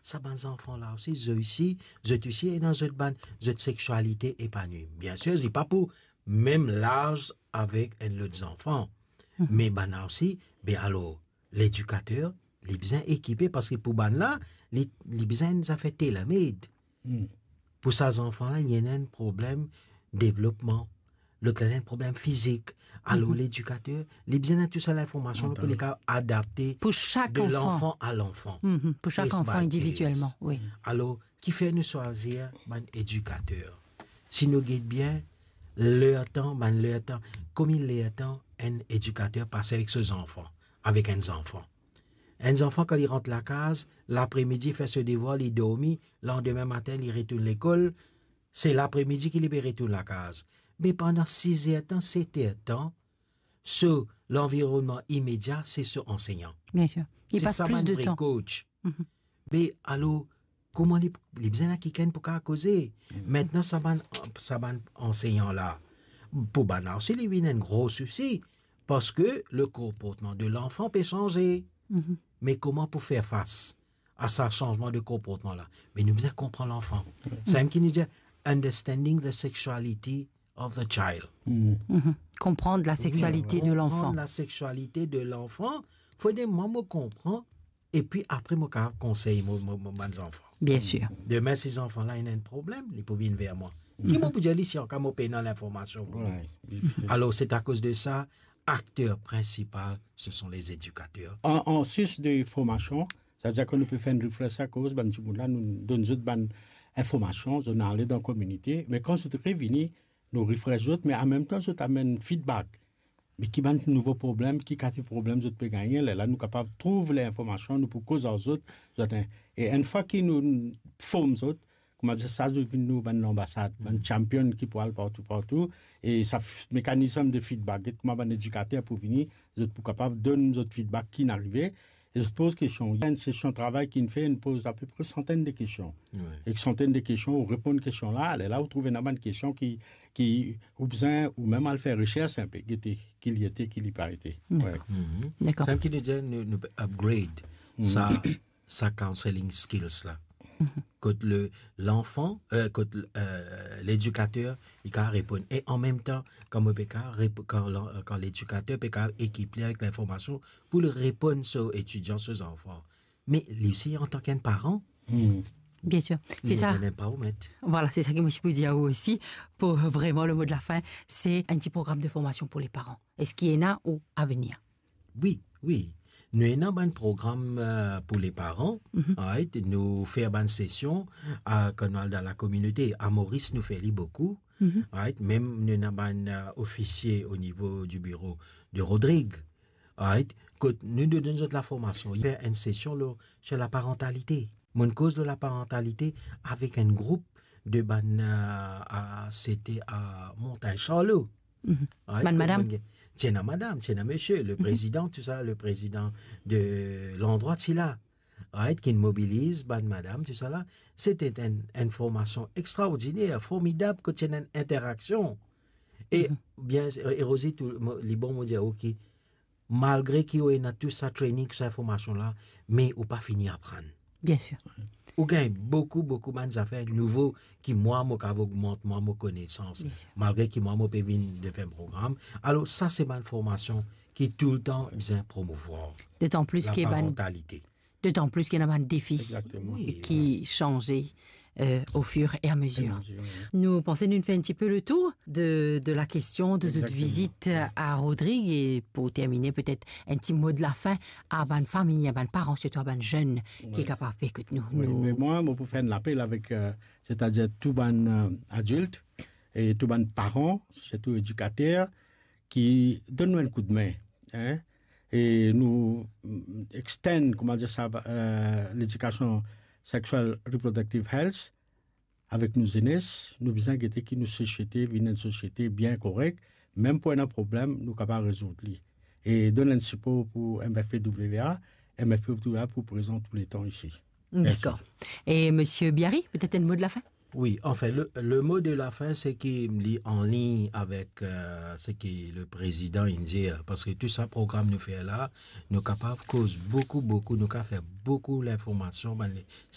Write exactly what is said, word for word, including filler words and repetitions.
sa bann zanfan la osi, zot osi, zot osi ena zot bann, zot sexualité épanouie. Bien sûr, li pa pou mem laz avek enn lot zanfan. Me bann la osi, be alor, ledikater, li bizin ekipe, parski pou bann la, li, li bizin enn zafer tailor-made. Pou sa zanfan la, li ena enn problem devlopman, lot la, li ena enn problem fizik. Alor, ledikater, li bizin ena tou sa linformasion pou li kapav adapte Pou sak de anfan. lanfan a lanfan. Mhm. Pou sak Case anfan by case. individuelman, wi. Alor, kifer nou swazir bann edikater? Si nou get bien, lertan, bann lertan, konbien lertan enn edikater pas avek so zanfan, avek enn zanfan? Enn zanfan, kan li rant lakaz, lapremidi, fer so devwar, li dormi, landime matin, li retourn lekol, se lapremidi ki li pe retourn lakaz. Me pandan siz er tan, set er tan, so lanvironnman imedia, se so ansegnan. Bien sûr. Il Se passe sa plus bann de vré temps. coach. Mhm. Me alor, kouma li, li bizin ena kikenn pou kapav koze? Mintnan, sa bann, sa bann ansegnan la, pou bann la osi, li vinn enn gro sousi, parski le konportman de lanfan pe sanze. Mhm. Me kouma pou fer fas a sa sanzman de konportman la? Me nou bizin konpran lanfan. Samem ki nou dir, understanding the sexuality of the child. Mhm. Konprann la seksualite de Konprann lanfan. la seksualite de lanfan. Fode mwa mo konpran, epi apre mo kapav konsey mo, mo, mo bann zanfan. Bien sûr. Demin, si zanfan la ena enn problem, li pou vinn ver mwa. Ki mo pou dir li si ankor mo pena linformasion pou li? Wi, difisil. Alor, se akoz de sa, akter prinsipal, se son lezedikater. An, an sis de formasion, setadir ke nou pe fer enn refresh akoz bann dimoun la, nou donn zot bann informasion, zot ale dan kominite, me kan zot revini, nou refresh zot, me anmemtan zot amenn feedback. Me ki bann nouvo problem, ki kalite problem zot pe gagne, lerla nou kapav trouv linformasion, nou pou koz ar zot, zot, e enn fwa ki nou form zot, kouma dir sa, zot vinn nou bann lanbasad, bann champion ki pou al partou, partou, e sa f-, mekanism de feedback, get kouma bann edikater pou vini, zot pou kapav donn zot feedback ki inn arive, e zot poz kestion. Ena enn sesion travay ki inn fer, inn poz apepre santenn de kestion. Wi. Ek santenn de kestion, ou reponn kestion la, lerla ou trouv ena bann kestion ki, ki ou bizin ou mem al fer resers enpe, gete ki li ete, ki li pa ete. Dakor. Wi. Mhm. Dakor. Samem ki nou dir, nou, nou pe upgrade sa, sa counseling skills la. Mhm. Kot le, lanfan, eh, kot, eh, ledikater, li kapav reponn. E anmemtan, kan mo pe kapav rep-, kan lan-, kan ledikater pe kapav ekip li avek linformasion pou li reponn so etidian, so zanfan. Me li osi, antan ki enn paran, Bien sûr. li C'est ça. ena enn empowerment. Voilà, c'est ça que moi je peux dire aussi. Pour vraiment le mot de la fin, c'est un petit programme de formation pour les parents. Est-ce qu'il y en a ou à venir? Wi, wi. Nou ena bann program, eh, pou le paran, Mhm. right? Nou fer bann sesion, a, kan nou al dan lakominote. A Moris, nou fer li boukou, Mhm. right? Mem nou ena bann, eh, ofisie o nivo di biro de Rodrig, right? Kot nou, nou donn zot laformasion. Fer enn sesion lor, sir laparantalite. Mo'nn koz lor laparantalite avek enn group de bann, eh, a, sete a Montagne Charlot. Mhm. Right? Bann Kot madam. bann, ti ena madam, ti ena misie, le Mhm. prezidan, tou sa, le prezidan de landrwa ti la. Right? Ki'nn mobiliz bann madam, tou sa la. Sete enn, enn formasion extraordiner, formidab, kot ti ena enn interaksion. E Mhm. bien, e Rosie, tou, mo, li bon, mo dir, ok, malgre ki ou ena tou sa training, sa formasion la, me ou pa fini aprann. Bien sûr. Ou gagn boukou, boukou bann zafer nouvo ki mwa, mo kapav ogmant mwa mo konesans. Bien sûr. Malgre ki mwa, mo pe vinn de fer program. Alor, sa se bann formasion ki toultan bizin promouvwar. Dotan plis ki bann Laparantalite. Dotan plis ki ena bann defi Exactement. Wi. ki sanze, eh, au fur et à mesure. Au fur et à mesure, wi. Nou panse nou fer enn tipe le tour de, de la kestion de zot Exactement. vizit a Rodrig, e pou termine, petet enn ti mo de la fin a bann fami, a bann paran, sirtou a bann zenn ki Wi. kapav pe ekout nou. Wi, Nou me mwa, mo pou fer enn lapel avek, eh, setadir tou bann, eh, adilt e tou bann paran, sirtou edikater, ki donn nou enn koudme, hein, e nou, mm, extend, kouma dir sa, eh, ledikasion sexual reproductive health avek nou zenes, nou bizin gete ki nou sosiete vinn enn sosiete bien korek, mem pou ena problem, nou kapav rezourd li. E donn enn sipor pou M F P W A, M F P W A pou prezan touletan isi. Mersi. Dakor. E Misie Biary, petet enn mo de la fin? Wi, anfin, le, le mo de la fin, se ki li anlign avek, eh, seki le prezidan inn dir, parski tou sa program nou fer la, nou kapav koz boukou, boukou, nou kapav fer boukou linformasion, bann le-,